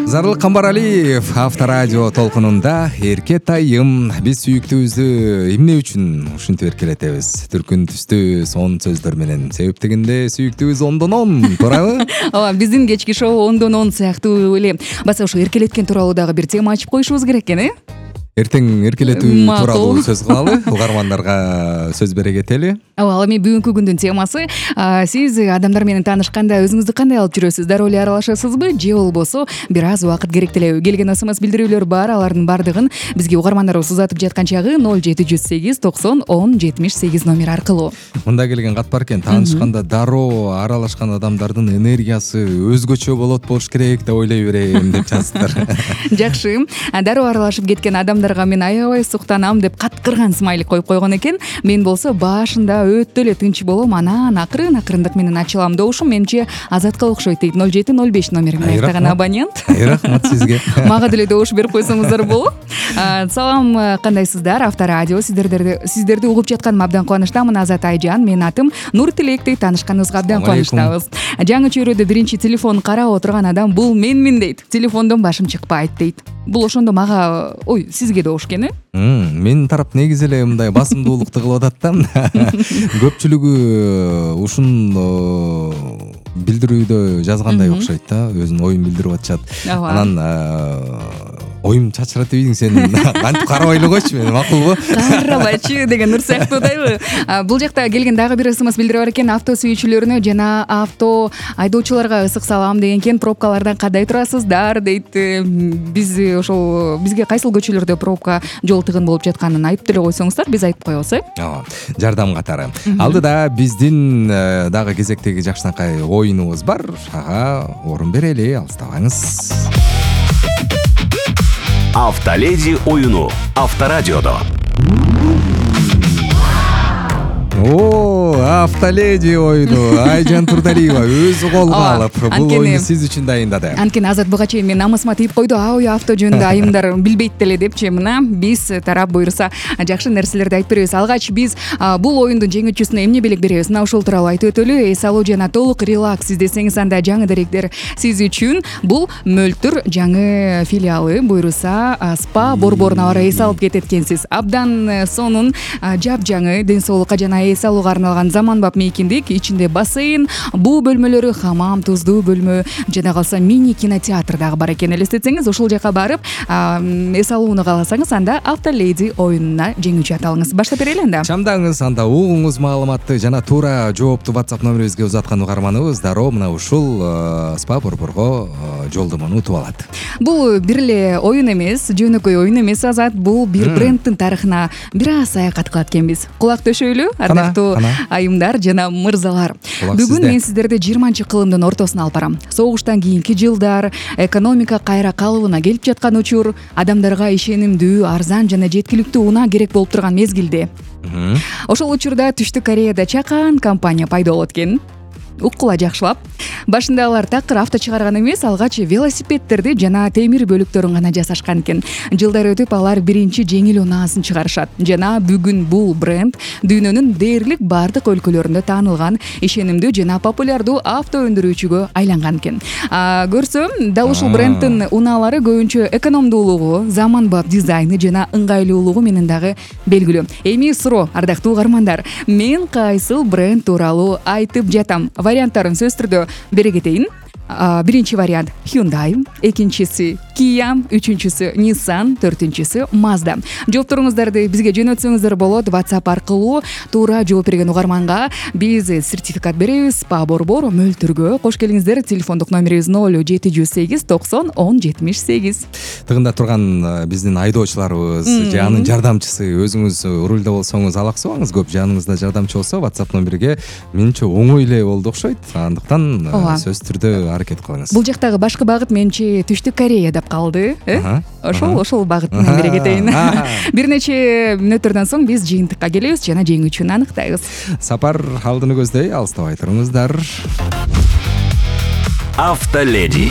Зарыл Камбаралиев Авторадио толкунунда эркет айым. Биз сүйүктүүбүздү эмне үчүн ушинтип эркелетебиз? Түркүн түстүү сонун сөздөр менен. Себеп дегенде сүйүктүүбүз 10/10, туурабы? Ооба, биздин кечки шоу 10/10 сыяктуу эле баса ушу эркелеткен тууралуу дагы бир тема ачып коюшубуз керек экен, Эртең эркелетүү тууралуу сөз кылалы, угармандарга сөз бере кетели. Ал эми бүгүнкү күндүн темасы, сиз адамдар менен таанышканда өзүңүздү кандай алып жүрөсүз? Дароо эле аралашасызбы же болбосо бир аз убакыт керектелеби? Келген СМС билдирүүлөр бар, алардын бардыгын бизге угармандарыбыз узатып жаткан чагы 0708 90 10 78 номер аркылуу. Мында келген кат бар экен, таанышканда дароо аралашкан адамдардын энергиясы өзгөчө болуш керек деп ойлой берем деп жазыптыр. Жакшы. Дароо аралашып кеткен адамдарга мен аябай суктанам деп каткырган смайлик коюп койгон экен. Мен болсо башында өтө эле тынч болом, анан акырындык менен ачылам. Добушум менимче Азатка окшойт дейт. 0705 номери менен аяктаган абонент. Рахмат сизге. Мага деле добуш берип койсоңуздар болот. Салам, кандайсыздар? Авторадио сиздерди угуп жатканыма абдан кубанычтамын. Азат Айжан, менин атым Нуртилек дейт. Таанышканыбызга абдан кубанычтабыз. Жаңы чөйрөдө биринчи телефон карап отурган адам бул менмин дейт. Телефондон башым чыкпайт дейт. Бул ошондо мага, сизге добуш экен, Менин тарап негизи эле мындай басымдуулукту кылып атат да. Көпчүлүгү ушун билдирүүдө жазгандай окшойт да, өзүнүн оюн билдирип атышат. Анан оюм чачырат дейсиң сен, кантип карабай эле койчу, мен макулбу? Карабайчы деген нур сыяктуудайбы. Бул жакта келген дагы бир СМС билдирип бар экен. Авто сүйүүчүлөрүнө жана авто айдоочуларга ысык салам деген экен. Пробкалардан кандай турасыздар дейт. Биз ошол бизге кайсыл көчөлөрдө пробка жол тыгын болуп жатканын айтып деле койсоңуздар, биз айтып коебуз, Жардам катары. Алдыда биздин дагы кезектеги жакшынакай оюнубуз бар. Ага, орун берели, алыстабаңыз. Автоледи оюну Авторадиодо. Автоледи оюну Айжан Турдалиева өзү колго алып бул оюну сиз үчүн дайындады. Анткени Азат буга чейин мен намысыма тийип койду, авто жөнүндө айымдар билбейт деле депчи. Мына биз тарап буйруса жакшы нерселерди айтып беребиз. Алгач биз бул оюндун жеңүүчүсүнө эмне белек беребиз? Мына ушул тууралуу айтып өтөлү. Эс алуу жана толук релакс издесеңиз, анда жаңы даректер сиз үчүн. Бул Мөлтүр жаңы филиалы буйруса спа борборуна бара эс алып кетет экенсиз. Абдан сонун, жапжаңы, ден соолукка жана эс алууга арналган заманбап мейкиндик, ичинде бассейн, буу бөлмөлөрү, хамам, туздуу бөлмө, жана калса мини кинотеатр дагы бар экен. Элестетсеңиз, ошол жака барып эс алууну кааласаңыз, анда Автоледи оюнуна жеңүүчү аталыңыз. Баштап берели анда. Чамдаңыз, анда угуңуз маалыматты жана туура жоопту WhatsApp номерибизге узаткан угарманыбыз дароо мына ушул спа борборго жолдомону утуп алат. Бул бир эле оюн эмес, жөнөкөй оюн эмес, Азат. Бул бир брендтин тарыхына бир аз саякат кылат экенбиз. Кулак төшөйлү, ардактуу айымдар жана мырзалар. Бүгүн мен сиздерди 20-кылымдын ортосуна алып барам. Согуштан кийинки жылдар, экономика кайра калыбына келип жаткан учур, адамдарга ишенимдүү, арзан жана жеткиликтүү унаа керек болуп турган мезгилде. Ошол учурда Түштүк Кореяда чакан компания пайда болот экен. Уккула жакшылап. Башында алар такыр авто чыгарган эмес, алгач велосипедтерди жана темир бөлүктөрүн гана жасашкан экен. Жылдар өтүп алар биринчи жеңил унаасын чыгарышат. Жана бүгүн бул бренд дүйнөнүн дээрлик бардык өлкөлөрүндө таанылган, ишенимдүү жана популярдуу авто өндүрүүчүгө айланган экен. Көрсөм, дал ушул брендтин унаалары көбүнчө экономдуулугу, заманбап дизайны жана ыңгайлуулугу менен дагы белгилүү. Эми суроо, ардактуу угармандар, мен кайсыл бренд тууралуу айтып жатам? Варианттарын сөз түрдө бере кетейин. Биринчи вариант Hyundai, экинчиси Kia, үчүнчүсү Nissan, төртүнчүсү Mazda. Жоопторуңуздарды бизге жөнөтсөңүздөр болот. WhatsApp аркылуу туура жооп берген угарманга биз сертификат беребиз. Спа борбор Мөлтүргө кош келиңиздер. Телефондук номерибиз 0708 90 10 78. Тыгында турган биздин айдоочуларыбыз же анын жардамчысы, өзүңүз рулда болсоңуз алаксыбаңыз, көп жаныңызда жардамчы болсо WhatsApp номерге менимче оңой эле болду окшойт. Андыктан сөз түрдө аракет кылыңыз. Бул жактагы башкы багыт менче Түштүк Корея деп калды, Ошол багыт менен бере кетейин. Бир нече мүнөттөрдөн соң биз жыйынтыкка келебиз жана жеңүүчүнү аныктайбыз. Сапар алдыны көздөй, алыстабай туруңуздар. Автоледи.